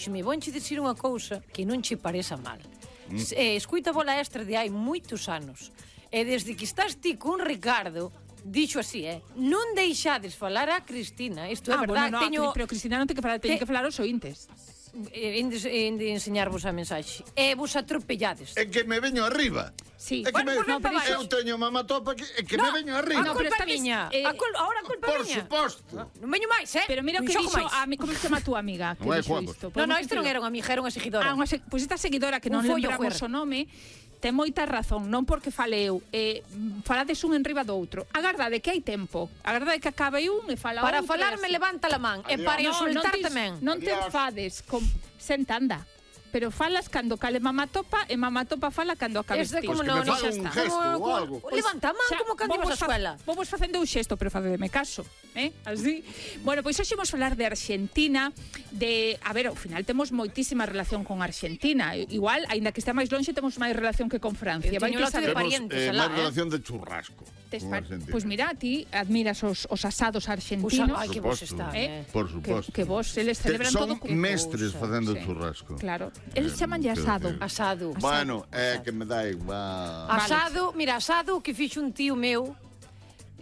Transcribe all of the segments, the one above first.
díxome, vonche dicir unha cousa que non che pareza mal. Escuita a Bola Extra de hai moitos anos. E desde que estás ti con Ricardo, dixo así, non deixades falar a Cristina. Isto é verdade. Bueno, pero Cristina non ten que falar, ten que falar os ointes. De enseñarvos a mensaxe. E vos atropellades. É que me veño arriba. Sí. É que Bueno, me, pues eu teño mamatopa é que me veño arriba. A culpa miña. Ahora a culpa Por miña. suposto. Non veño máis, Pero mira o que dixo como se chama a túa amiga, que Non é dixo Juan. isto. Non, isto non era unha amiga, era unha seguidora. Pois esta seguidora que non Un follo lembramos fuera. o nome ten moita razón, non porque fale eu, falades un enriba do outro. Agardade que hai tempo. Agardade que acabe un e fala Para outro. falarme levanta a man e para insultar tamén. Non te enfades, senta, anda. Pero falas cando cale mamatopa e mamatopa fala cando acabes ti. Como que non, me xa faga un está. gesto ou algo. Levanta a man como cando ibas á escuela. Vamos facendo un xesto, pero facedeme caso, así. Bueno, pois hoxe imos falar de Argentina, a ver, ao final temos moitísima relación con Argentina. Igual, aínda que estea máis lonxe, temos máis relación que con Francia. Eu teño lote de parientes alá, máis relación de churrasco. Pois mira, ti admiras os asados argentinos. Ai, que vos está, Por suposto. Que vos, eles celebran todo son mestres facendo churrasco. Claro. Eles chamanlle asado. Asado. Bueno, é que me dá igual. Asado, mira, asado que fixo un tío meu,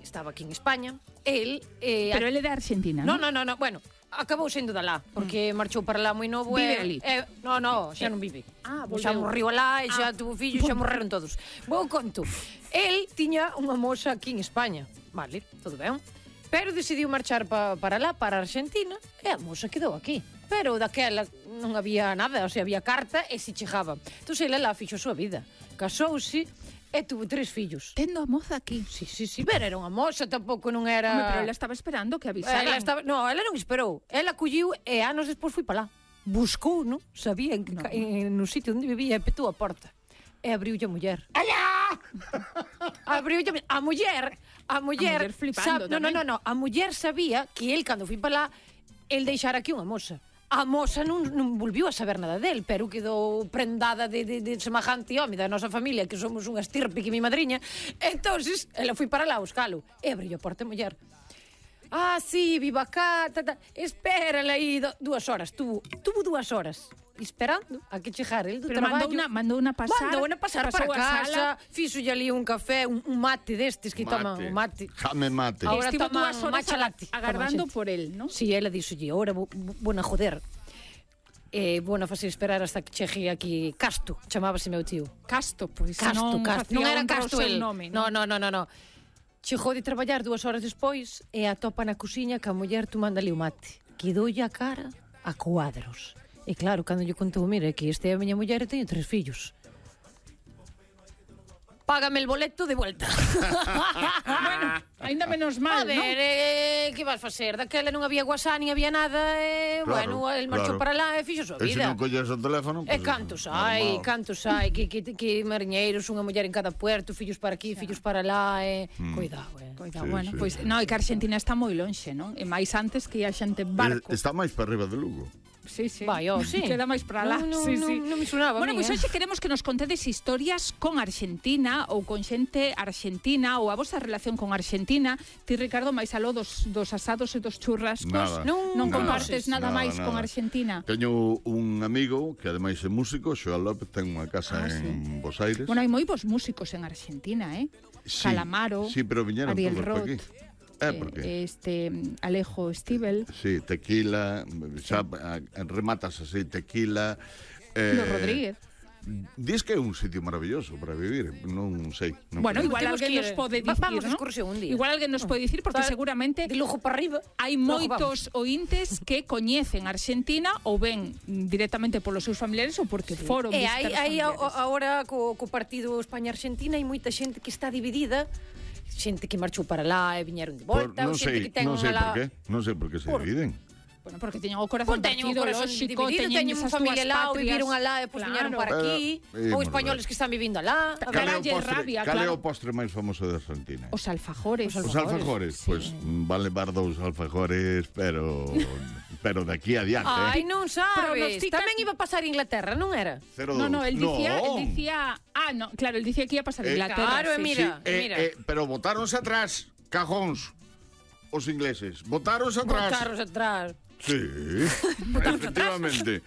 estaba aquí en España, el... Pero ele é de Argentina, non? Non, bueno, acabou sendo de lá, porque marchou para lá moi novo. Vive ali? Non, xa non vive. Volveu. Xa morriu alá e xa tuvo fillos, xa morreron todos. Vou conto. El tiña unha moza aquí en España, vale, todo ben, pero decidiu marchar para lá, para Argentina, e a moza quedou aquí. Pero daquela non había nada, o sea, había carta e se chegaba. Entón, ele lá fixo a súa vida. Casouse e tuvo 3 fillos. Tendo a moza aquí. Sí, pero era unha moza, tampouco non era... Pero ela estaba esperando que avisaran. Ela non esperou. Ela colliu e anos despois foi para lá. Buscou, non? Sabía no sitio onde vivía e petou a porta. E abriulle a muller. ¡Alá! Abriulle a muller. A muller flipando tamén. Non. A muller sabía que el, cando foi para lá, el deixara aquí unha moza. A moza non volviu a saber nada del, pero quedou prendada de semejante home da nosa familia, que somos unha estirpe que mi madriña. Entonces, ela foi para lá a buscalo. E abriu a porta a muller. Ah, sí, viva acá, espérala aí 2 horas. Tuvo 2 horas esperando a que chegara el do traballo. Mandou unha pasar. Mandou unha pasar para casa, fixolle ali un café, un mate destes que toman un mate. Jame mate. Ahora estivo toman 2 horas matcha latte. agardando por el, ¿no? Sí, ela dixolle, ahora vou na joder. Vou na facer esperar hasta que chegue aquí Casto, chamábase meu tío. Casto, pois Casto. Non era Casto el. Nome, No. Chegou de traballar 2 horas despois e atopa na cociña que a muller tomando ali o mate. Quedoulle a cara a cuadros. E claro, cando lle contou, mira, que este é a miña muller e teño 3 fillos. Págame el boleto de vuelta. Bueno, ainda menos mal, A ver, que vas facer? Daquela non había WhatsApp, nin había nada, bueno, el marchou para lá e fixo a súa E se vida. non colles o teléfono... E cantos hai, que mariñeiros, unha muller en cada puerto, fillos para aquí, fillos para lá, Cuidado, Cuidado, bueno, pois non, é que Argentina está moi lonxe, non? E máis antes que ia xente en barco. Está máis para arriba de Lugo. Sí. Vai, sí. Queda máis para lá. Sí. Non me sonaba. Bueno, pois hoxe queremos que nos contedes historias con Argentina ou con xente argentina ou a vosa relación con Argentina. Ti, Ricardo, máis aló dos asados e dos churrascos. Non compartes nada máis con Argentina. Teño un amigo que ademais é músico, Xoel López, ten unha casa en Bos Aires. Bueno, hai moi bons músicos en Argentina, Sí, Calamaro, sí, pero viñeron Ariel todos por Roth. aquí. ¿Por qué? Alejo Stivel. Sí, tequila, xa rematas así, tequila. Los Rodríguez. Dis que é un sitio maravilloso para vivir, non sei. Bueno, igual alguén nos pode dicir, vamos ¿no? a excursión un día. Igual alguén nos pode dicir, porque seguramente de lujo para arriba. Hai moitos ointes que coñecen Argentina ou ven directamente polos seus familiares ou porque foron visitar os hai familiares. agora co partido España-Argentina hai moita xente que está dividida, xente que marchou para lá e viñeron de volta, xente que ten non sei por qué, non sei por que se dividen. Bueno, porque teñen o corazón partido, lógico, teñen unha familia lá, ou viviron alá e depois viñeron para aquí, ou españoles que están vivindo alá. Cal é o postre máis famoso de Argentina? Os alfajores. Os alfajores, pois van levar 2 alfajores, pero de aquí adiante. Ai, non sabes. Tamén iba a pasar Inglaterra, non era? No, él dicía, no, claro, él dicía que iba a pasar Inglaterra. Claro, mira. Pero botáronse atrás, cajóns, os ingleses. Botáronse atrás. Botáronse atrás. Sí, efectivamente.